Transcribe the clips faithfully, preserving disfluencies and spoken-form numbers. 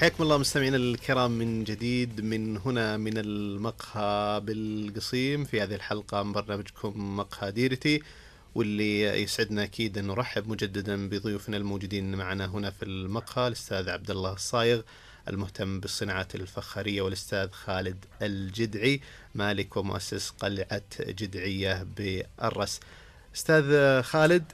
حياكم الله مستمعينا الكرام من جديد من هنا من المقهى بالقصيم في هذه الحلقة من برنامجكم مقهى ديرتي، واللي يسعدنا أكيد أن نرحب مجددا بضيوفنا الموجودين معنا هنا في المقهى، الأستاذ عبد الله الصايغ المهتم بالصناعات الفخارية، والأستاذ خالد الجدعي مالك ومؤسس قلعة جدعية بالرس. أستاذ خالد،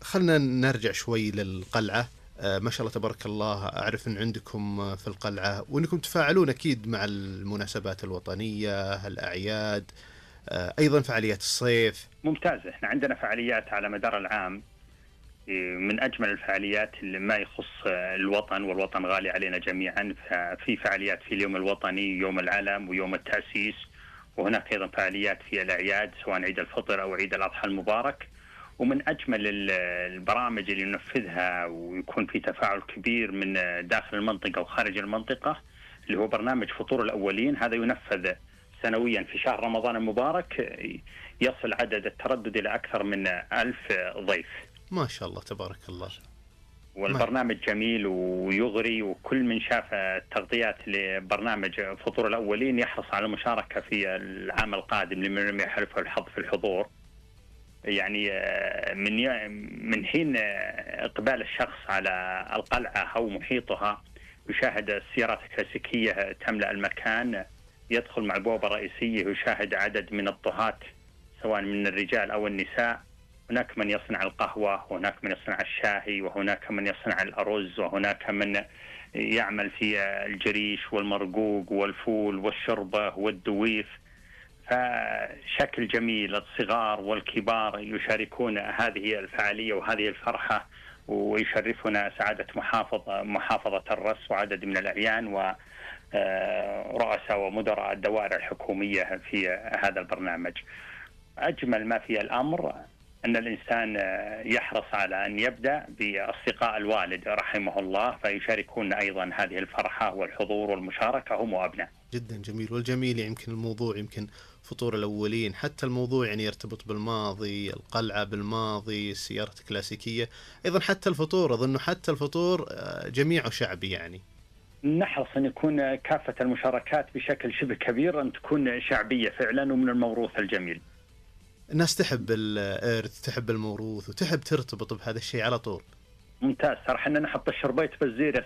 خلنا نرجع شوي للقلعة. ما شاء الله تبارك الله، أعرف أن عندكم في القلعة وأنكم تفاعلون أكيد مع المناسبات الوطنية، الأعياد، أيضا فعاليات الصيف. ممتاز، إحنا عندنا فعاليات على مدار العام، من أجمل الفعاليات اللي ما يخص الوطن، والوطن غالي علينا جميعا. في فعاليات في اليوم الوطني، يوم العلم ويوم التأسيس، وهناك أيضا فعاليات في الأعياد سواء عيد الفطر أو عيد الأضحى المبارك. ومن أجمل البرامج اللي ننفذها ويكون في تفاعل كبير من داخل المنطقة وخارج المنطقة اللي هو برنامج فطور الأولين. هذا ينفذ سنويا في شهر رمضان المبارك، يصل عدد التردد إلى أكثر من ألف ضيف. ما شاء الله تبارك الله. والبرنامج جميل ويغري، وكل من شاف التغطيات لبرنامج فطور الأولين يحرص على المشاركة في العام القادم لمن لم يحلفه الحظ في الحضور. يعني من من حين إقبال الشخص على القلعة أو محيطها يشاهد السيارات الكلاسيكية تملأ المكان، يدخل مع البوابة الرئيسية يشاهد عدد من الطهاة سواء من الرجال أو النساء. هناك من يصنع القهوة، وهناك من يصنع الشاهي، وهناك من يصنع الأرز، وهناك من يعمل في الجريش والمرقوق والفول والشربة والدويف. فشكل جميل، الصغار والكبار يشاركون هذه الفعالية وهذه الفرحة، ويشرفنا سعادة محافظة محافظة الرس وعدد من الأعيان ورؤساء ومدراء الدوائر الحكومية في هذا البرنامج. أجمل ما في الأمر أن الإنسان يحرص على أن يبدأ بأصدقاء الوالد رحمه الله، فيشاركون أيضا هذه الفرحة والحضور والمشاركة هم وأبناء. جدا جميل. والجميل يمكن الموضوع يمكن فطور الأولين، حتى الموضوع يعني يرتبط بالماضي، القلعة بالماضي، السيارة الكلاسيكية، أيضا حتى الفطور، أظن حتى الفطور جميعه شعبي. يعني نحرص أن يكون كافة المشاركات بشكل شبه كبير أن تكون شعبية فعلا ومن الموروث الجميل. الناس تحب الإرث، تحب الموروث، وتحب ترتبط بهذا الشيء على طول. ممتاز. ترى حنا نحط الشربيت بالزير يا